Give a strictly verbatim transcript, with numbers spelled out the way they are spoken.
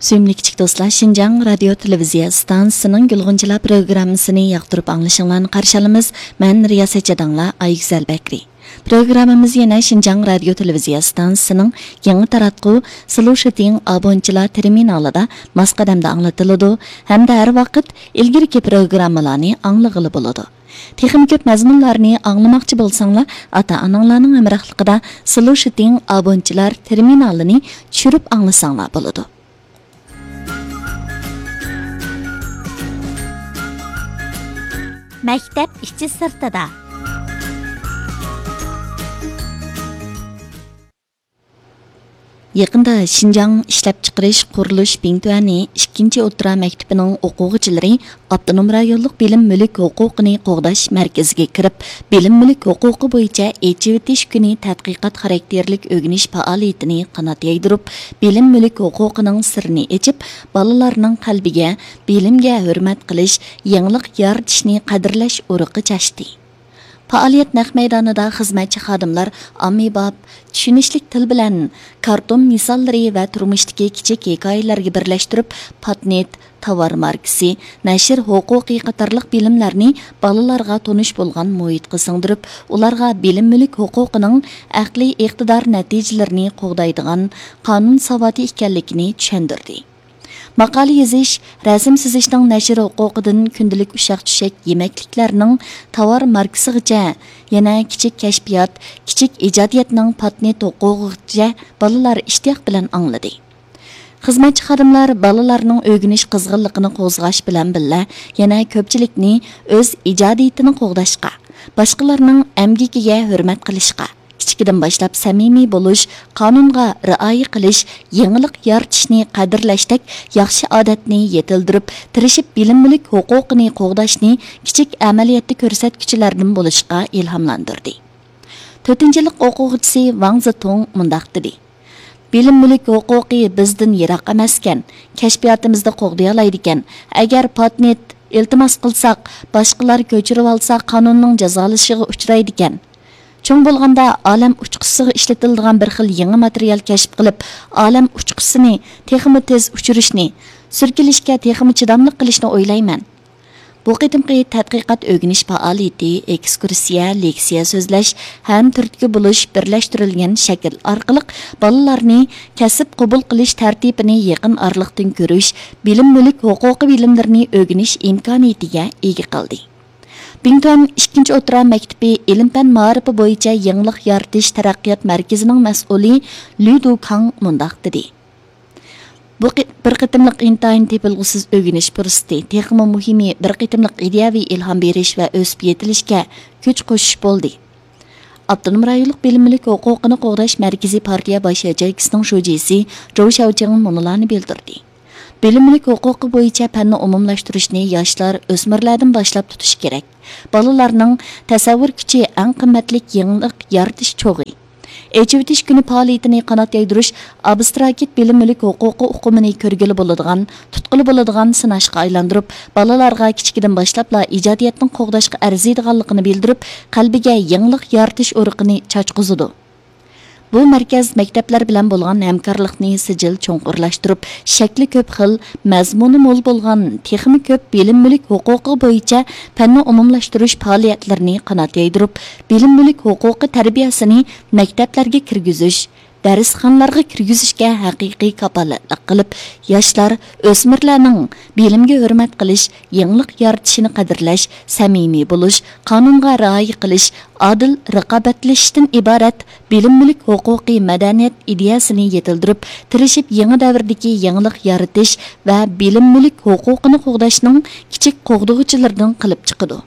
سۆيۈملۈك كىچىك دوستلار، شىنجاڭ رادىيو تېلېۋىزىيە ئىستانسىسىنىڭ گۈلغۇنچىلار پروگراممىسىنى ياقتۇرۇپ ئاڭلىشىڭلارنى قارشى ئالىمىز. مەن رىياسەتچى داڭلا ئايگۈزەل بەكرى. پروگراممىمىز يەنە شىنجاڭ رادىيو تېلېۋىزىيە ئىستانسىسىنىڭ يېڭى تاراتقۇ سلوشىتىڭ ئابونچىلار تېرمىنالىدا ماس قەدەمدە ئاڭلىتىلىدۇ ھەمدە ھەر ۋاقىت ئىلگىرىكى پروگراممىلارنى ئاڭلىغىلى بولىدۇ. تېخىمۇ كۆپ مەزمۇنلارنى ئاڭلىماقچى بولساڭلار، ئاتا-ئاناڭلارنىڭ ھەمراھلىقىدا سلوشىتىڭ ئابونچىلار تېرمىنالىنى چۈشۈرۈپ ئاڭلىساڭلار بولىدۇ. مەكتەپ ئىچى سىرتىدا. يېقىندا شىنجاڭ ئىشلەپچىقىرىش قۇرۇلۇش بىڭتۈەنى ئىككىنچى ئوتتۇرا مەكتىپىنىڭ ئوقۇغۇچىلىرى ئاپتونوم رايونلۇق بىلىم مۈلۈك ھوقۇقىنى قوغداش مەركىزىگە كىرىپ، بىلىم مۈلۈك ھوقۇقى بويىچە ئېچىۋېتىش كۈنى تەتقىقات خاراكتېرلىك ئۆگىنىش پائالىيىتىنى قانات يايدۇرۇپ، بىلىم مۈلۈك ھوقۇقىنىڭ سىرىنى ئېچىپ، بالىلارنىڭ قەلبىگە بىلىمگە ھۆرمەت قىلىش، يېڭىلىق يارىتىشنى قەدىرلەش ئۇرۇقى چاچتى. پائالىيەت نەق مەيدانىدا خىزمەتچى خادىملار ئاممىباب، چۈشىنىشلىك تىل بىلەن كارتون مىساللىرى ۋە تۇرمۇشتىكى كىچىك ھېكايىلەرگە بىرلەشتۈرۈپ، پاتېنت، تاۋار ماركىسى، نەشر ھوقۇقى قاتارلىق بىلىملەرنى بالىلارغا تونۇش بولغان مۇھىتقا سىڭدۈرۈپ، ئۇلارغا بىلىم مۈلۈك ھوقۇقىنىڭ ئەقلىي ئىقتىدار نەتىجىلىرىنى قوغدايدىغان قانۇن ساۋاتى ئىكەنلىكىنى چۈشەندۈردى. ماقالە يېزىش، رەسىم سىزىشنىڭ نەشر ھوقۇقىدىن كۈندىلىك ئۇششاق-چۈششەك يېمەكلىكلەرنىڭ تاۋار ماركىسىغىچە، يەنە كىچىك كەشپىيات، كىچىك ئىجادىيەتنىڭ پاتېنت ھوقۇقىغىچە بالىلار ئىشتىياق بىلەن ئاڭلىدى. خىزمەتچى خادىملار بالىلارنىڭ ئۆگىنىش قىزغىنلىقىنى قوزغاش بىلەن بىللە، يەنە كۆپچىلىكنى ئۆز ئىجادىيىتىنى قوغداشقا، باشقىلارنىڭ ئەمگىكىگە ھۆرمەت قىلىشقا، كىچىكىدىن باشلاپ سەمىمىي بولۇش، قانۇنغا رىئايە قىلىش، يېڭىلىق يارىتىشنى قەدىرلەشتەك ياخشى ئادەتنى يېتىلدۈرۈپ، تىرىشىپ بىلىم مۈلۈك ھوقۇقىنى قوغداشنى كىچىك ئەمەلىيەتتە كۆرسەتكۈچىلەردىن بولۇشقا ئىلھاملاندۇردى. تۆتىنچى يىللىق ئوقۇغۇچىسى ۋاڭ زېتۇڭ مۇنداق دېدى: بىلىم مۈلۈك ھوقۇقى بىزدىن يىراق ئەمەسكەن، كەشپىياتىمىزدا قوغدىيالايدىكەن. ئەگەر پاتېنت ئىلتىماس قىلساق، باشقىلار كۆچۈرۈۋالسا، قانۇننىڭ جازالىشىغا ئۇچرايدىكەن. چوڭ بولغاندا ئالەم ئۇچقۇچىسىغا ئىشلىتىلىدىغان بىر خىل يېڭى ماتېرىيال كەشىپ قىلىپ، ئالەم ئۇچقۇچىسىنى تېخىمۇ تېز ئۇچۇرۇشنى، سۈركىلىشكە تېخىمۇ چىداملىق قىلىشنى ئويلايمەن. بۇ قېتىمقى تەتقىقات ئۆگىنىش پائالىيىتى ئېكسكۇرسىيە، لېكسىيە سۆزلەش ھەم تۈرتكە بولۇش بىرلەشتۈرۈلگەن شەكىل ئارقىلىق بالىلارنى كەسىپ قوبۇل قىلىش تەرتىپىنى يېقىن ئارىلىقتىن كۆرۈش، بىلىم مۈلۈك ھوقۇقى بىلىملىرىنى ئۆگىنىش ئىمكانىيىتىگە ئىگە قىلدى. بىڭتۈەن ئىككىنچى ئوتتۇرا مەكتىپى ئىلىم-پەن مائارىپى بويىچە يېڭىلىق يارىتىش تەرەققىيات مەركىزىنىڭ مەسئۇلى لۈ دۇكاڭ مۇنداق دېدى: بۇ قې-، بىر قېتىملىق ئىنتايىن تېپىلغۇسىز ئۆگىنىش پۇرسىتى، تېخىمۇ مۇھىمى، بىر قېتىملىق ئىدىيەۋى ئىلھام بېرىش ۋە ئۆسۈپ يېتىلىشكە كۈچ قوشۇش بولدى. ئاپتونوم رايونلۇق بىلىم مۈلۈك ھوقۇقىنى قوغداش مەركىزى پارتىيە باش ياچېيكىسىنىڭ شۇجىسى جوۋ شياۋچىڭ مۇنۇلارنى بىلدۈردى: بىلىم مۈلۈك ھوقۇقى بويىچە پەننى ئومۇملاشتۇرۇشنى ياشلار، ئۆسمۈرلەردىن باشلاپ تۇتۇش كېرەك. بالىلارنىڭ تەسەۋۋۇر كۈچى ئەڭ قىممەتلىك يېڭىلىق يارىتىش چوغى. ئېچىۋېتىش كۈنى پائالىيىتىنى قانات يايدۇرۇش ئابستراكت بىلىم مۈلۈك ھوقۇقى ئۇقۇمىنى كۆرگىلى بولىدىغان، تۇتقىلى بولىدىغان سىناشقا ئايلاندۇرۇپ، بالىلارغا كىچىكىدىن باشلاپلا ئىجادىيەتنىڭ قوغداشقا ئەرزىيدىغانلىقىنى بىلدۈرۈپ، قەلبىگە يېڭىلىق يارىتىش ئۇرۇقىنى چاچقۇزىدۇ. بۇ مەركەز مەكتەپلەر بىلەن بولغان ھەمكارلىقنى سىجىل چوڭقۇرلاشتۇرۇپ، شەكلى كۆپ خىل، مەزمۇنى مول بولغان تېخىمۇ كۆپ بىلىم مۈلۈك ھوقۇقى بويىچە پەننى ئومۇملاشتۇرۇش پائالىيەتلىرىنى قانات يايدۇرۇپ، بىلىم مۈلۈك ھوقۇقى تەربىيەسىنى مەكتەپلەرگە كىرگۈزۈش، دەرسخانىلارغا كىرگۈزۈشكە ھەقىقىي كاپالەتلىك قىلىپ، ياشلار، ئۆسمۈرلەرنىڭ بىلىمگە ھۆرمەت قىلىش، يېڭىلىق يارىتىشىنى قەدىرلەش، سەمىمىي بولۇش، قانۇنغا رىئايە قىلىش، ئادىل رىقابەتلىشىشتىن ئىبارەت بىلىم مۈلۈك ھوقۇقى مەدەنىيەت ئىدىيەسىنى يېتىلدۈرۈپ، تىرىشىپ يېڭى دەۋردىكى يېڭىلىق يارىتىش ۋە بىلىم مۈلۈك ھوقۇقىنى قوغداشنىڭ كىچىك قوغدىغۇچىلىرىدىن قىلىپ چىقىدۇ.